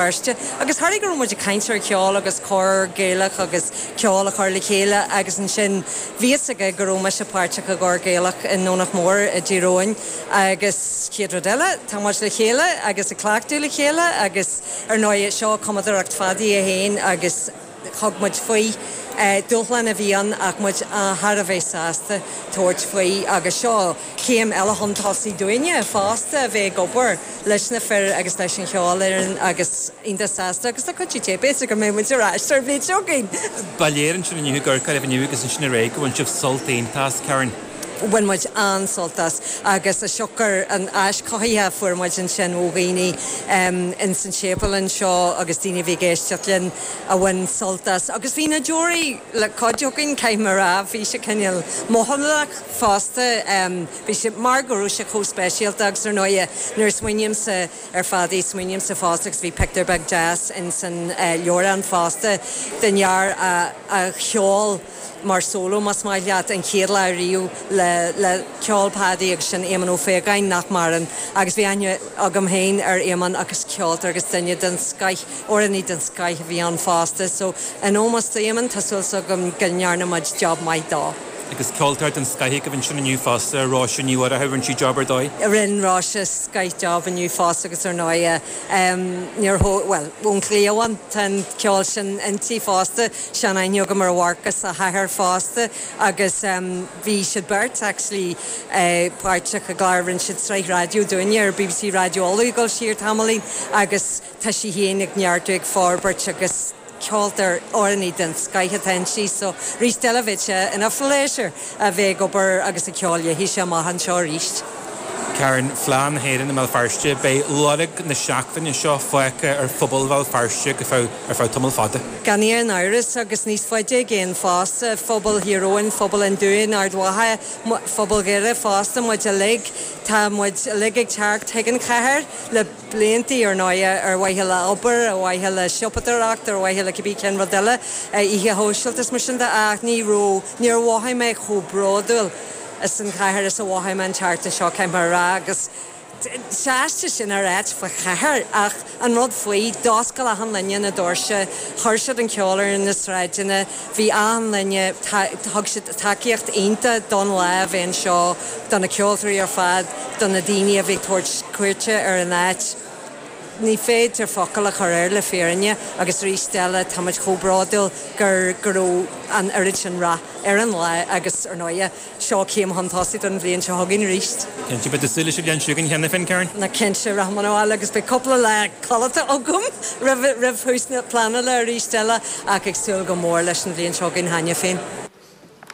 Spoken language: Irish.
Feirste. Agus tharla go raibh muid ag caint ar cheol agus cór Gaelach agus ceol a chur le chéile agus ansin bhí fhios aige go raibh mise páirteach i gcór Gaelach i nDomhnach Mór i dTír Eoghain agus chéad rud eile tá muid le chéile agus ag cleachtadh le chéile agus ar ndóigh seo cumadóireacht Phadaí é féin agus Thug muid faoi. Dúshlán a bhí ann ach muid thar a bheith sásta tabhairt faoi agus seo céim eile chun tosaigh dúinne fosta a bheith ag obair leis na fir agus leis an cheolfhoireann agus iontach sásta agus le cuidiú Dé b'fhéidir go mbeidh muid ar ais ar an bhliain seo chugainn. Ba léir ansin inniu ag amharc oraibh inniu agus ansin aréir go bhain sibh sult iontach as, Karen. Bhain muid an-sult as agus is siocair an áis chothaithe a fuair muid ansin ó dhaoine ins an séipéal anseo agus daoine a bhí ag éisteacht linn a bhain sult as. Agus bhí na deoraí le cuid againn, caithfidh mé a rá, bhí sé cineál mothálach fosta. Bhí sé mar go raibh sé chomh speisialta agus ar ndóighe nuair a smaoinímse ar Phadaí smaoinímse fosta agus bhí pictiúr beag deas ins an leabhrán fosta den fhear a cheol mar solo, más maith leat, an chéad lá riamh le le ceol Paddy agus sin Éamonn Ó Faogáin, nach maireann, agus bhí aithne agam féin ar Éamonn agus ceoltóir agus duine den scoith, amhránaí den scoith a bhí ann fosta. So, in ómós d'Éamonn, tá súil agam go ndearna muid job maith dó. Agus ceoltóir den scoith agaibh ansin inniu fosta, Róise Ní Mhurchú, rinne sí job ar dóigh. Rinne Róise scoith job inniu fosta agus ar ndóighe, Níor thóg, bhuel, ón chliabhán, tá an ceol sin inti fosta, sean-aithne agam ar Mharcas agus a hathair fosta agus bhí siad beirt actually páirteach i gclár, rinne siad sraith raidió dúinne ar bbc Raidió Uladh ag dul siar tamaillín agus tá sí féin ag neartú, ag forbairt agus ceoltóir, amhránaí den scoith atá inti so arís eile bheadh sé ina phléisiúr a bheith ag obair agus ag ceol léithise amach anseo arís. Karen, Fleadh na hÉireann i mBéal Feirste, beidh lorg na seachtaine seo fágtha ar phobal Bhéal Feirste go feadh ar feadh tamall fada. Gan aon amhras agus níos faide i gcéin fosta, phobal Thír Eoghain, phobal an Dúin, Ard Mhacha, phobal Dhoire fosta, muid uilig, tá muid uilig ag teacht chuig an chathair le. blianta, ar ndóighe, ar mhaithe le obair, ar mhaithe le siopadóireacht, ar mhaithe le cibé cén rud eile, oíche shóisialta is mar sin de, ach ní raibh, níor mhothaigh mé chomh bródúil as an chathair is a mhothaigh mé an tseachtain seo, caithfidh mé a rá, agus is aisteach sin a ráit fá chathair, ach an rud faoi, d'oscail achan duine na doirse, chuir siad an ceol ar na sráideanna, bhí achan duine, thug siad tacaíocht iontach don lá a bheith anseo, do na ceoltóirí ar fad, do na daoine a bhí ag tabhairt cuairte ar an áit. Ní féidir focal a chur air le fírinne agus arís eile táimid chomh bródúil gur go raibh an oiread sin rath ar an lá agus ar ndóighe seo céim chun tosaigh don bhliain seo chugainn arís. Cinnte, beidh tú ag súil leis an bhliain seo chugainn cheana féin, Karen? Ná cinnte, rachaidh mé abhaile agus beidh cúpla lá codlata agam roimh roimh thús na pleanála arís eile ach ag súil go mór leis an bhliain seo chugainn cheana féin.